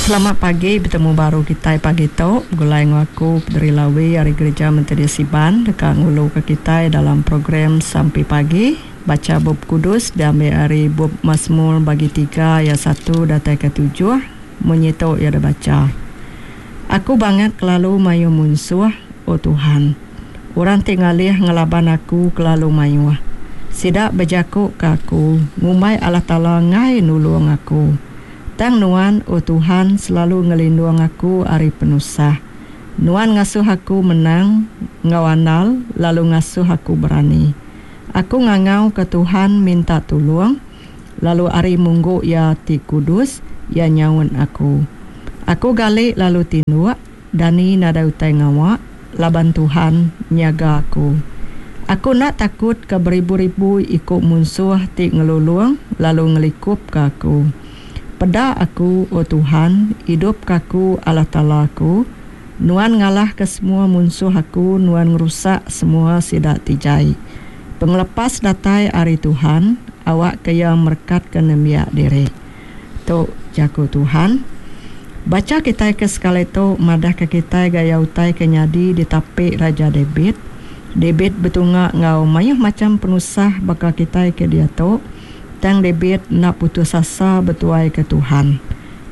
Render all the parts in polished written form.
Selamat pagi betemu baru kitai pagi tu begulai enggau aku Pederi Lawi ari Gerija Methodist Iban deka nguluka kitai dalam program Sampi Pagi. Bacha Bup Kudus diambi ari Bup Masmur bagi tiga ayat satu datai ke tujuh. Munyi tu iya dibacha. Aku bangat kelalu mayuh munsuh, O Tuhan. Orang ti ngalih ngelaban aku kelalu mayuh. Sida bejakuka aku, ngumbai Allah Taala enggai nulung aku. Tang Nuan, O Tuhan, selalu ngelindung aku ari penusah. Nuan ngasuh aku menang enggau andal lalu ngasuh aku berani. Aku ngangauka Tuhan minta tulung, lalu ari munggu Iya ti kudus, Iya nyaut aku. Aku gali lalu tinduk. Dani nadai utai ngawa laban Tuhan nyaga aku. Aku enda takut ke beribu-ribu iku munsuh ti ngelulung lalu ngelikupka aku. Peda aku, O Tuhan, idupka aku, Allah Taala aku. Nuan ngalahka semua munsuh aku, Nuan ngerusak semua sida ti jai. Pengelepas datai ari Tuhan, awakka Iya merekatka nembiak Diri. Tu jaku Tuhan. Bacha kitai ke sekali tu madahka kitai gaya utai ke nyadi ditapi Raja David. David betunga enggau mayuh macham penusah baka kitai ke diatu. Tang David enda putus asa betuaika Tuhan.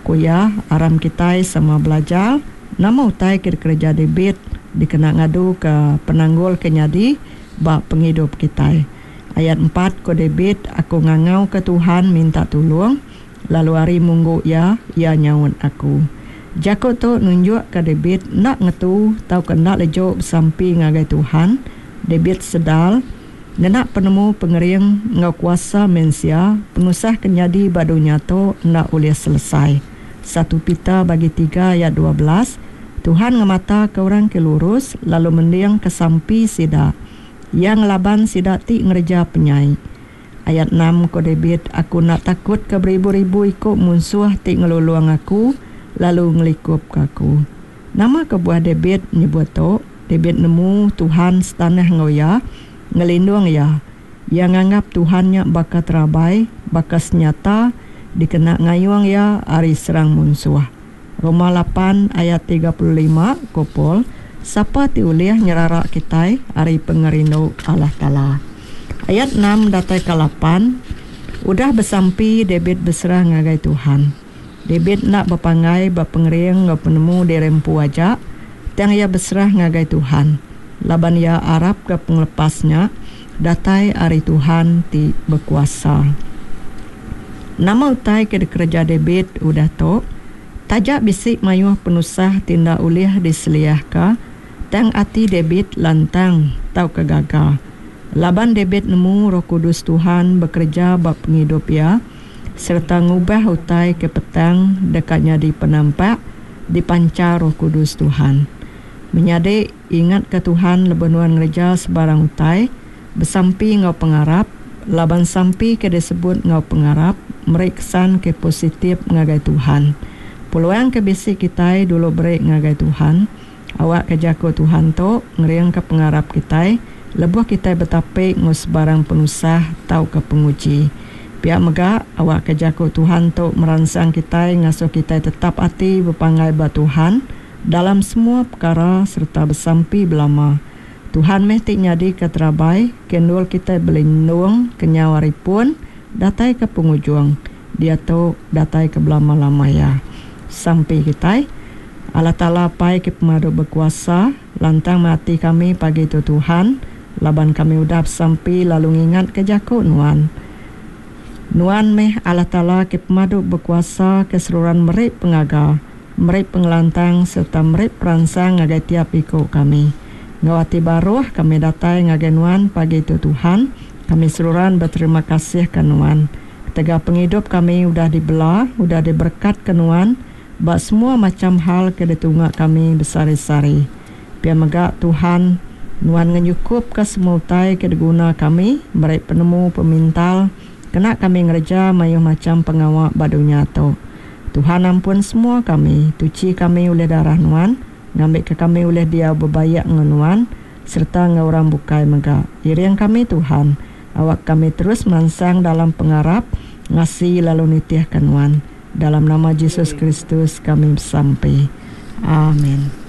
Ku iya, aram kitai sama belajar nama utai ke dikereja David dikena ngaduka penanggul ke nyadi ba pengidup kitai. Ayat empat, Ku David, Aku ngangauka Tuhan minta tulung, lalu ari munggu Iya, Iya nyaut aku. Jaku tu nunjukka David enda ngetu tauka enda leju besampi ngagai Tuhan. David sedar, ngena penemu pengering enggau kuasa mensia, penusah ke nyadi ba dunya tu enda ulih selesai. Satu Peter bagi tiga ayat 12, Tuhan ngemataka orang ke lurus lalu mendingka sampi sida. Iya ngelaban sida ti ngereja penyai. Ayat enam, Ku David, Aku enda takut ke beribu-ribu iku munsuh ti ngelulung aku lalu ngelikupka aku. Nama kebuah David nyebut tu? David nemu Tuhan setanah enggau iya, ngelindung iya. Iya nganggap Tuhan nya baka terabai, baka senyata dikena ngayung iya ari serang munsuh. Roma lapan ayat 35, ku Paul, Sapa ti ulih nyerara kitai ari pengerindu Allah Taala? Ayat enam datai ka lapan, Udah besampi, David beserah ngagai Tuhan. David enda bepanggai ba pengering enggau penemu diri empu aja, tang iya beserah ngagai Tuhan, laban iya arapka pengelepas nya datai ari Tuhan ti bekuasa. Nama utai ke dikereja David udah tu? Taja bisi mayuh penusah ti enda ulih diseliahka, tang ati David lantang tauka gaga. Laban David nemu roh kudus Tuhan bekereja ba pengidup iya sereta ngubah utai ke petang deka nyadi penampak dipanchar roh kudus Tuhan. Menyadi, ingatka Tuhan lebuh nuan ngereja sebarang utai. Besampi enggau pengarap, laban sampi ke disebut enggau pengarap meri kesan ke positif ngagai Tuhan. Peluang ke bisi kitai dulu beri ngagai Tuhan. Awakka jaku Tuhan tu ngeringka pengarap kitai lebuh kitai betapi enggau sebarang penusah tauka penguji. Pia mega, awakka jaku Tuhan tu meransang kitai ngasuh kitai tetap ati bepanggai ba Tuhan dalam semua pekara sereta besampi belama. Tuhan meh ti nyadika terabai ke endur kitai belindung kenyau ari pun datai ke pengujung, diatu datai ke belama-lama iya. Sampi kitai, Allah Taala Apai ke pemadu bekuasa, lantang meh ati kami pagi tu Tuhan, laban kami udah besampi lalu ngingatka jaku Nuan. Nuan meh Allah Taala ke pemadu bekuasa ke seruran meri pengaga. Meri pengelantang sereta meri peransang ngagai tiap iku kami. Enggau ati baruh kami datai ngagai Nuan pagi tu Tuhan, kami seruran beterima kasih ka Nuan. Ketegal pengidup kami udah dibela, udah diberekatka Nuan ba semua macham hal ke ditunga kami besehari-sehari. Pia mega Tuhan, Nuan ngenyukupka semua utai ke diguna kami, meri penemu pemintal kena kami ngereja mayuh macham pengawa ba dunya tu. Tuhan ampun semua kami, tuchi kami ulih darah Nuan, ngambika kami ulih diau bebaik enggau Nuan sereta enggau orang bukai mega. Iring kami Tuhan, awak kami terus mansang dalam pengarap, ngasi lalu nitihka Nuan. Dalam nama Jesus Kristus kami besampi. Amin.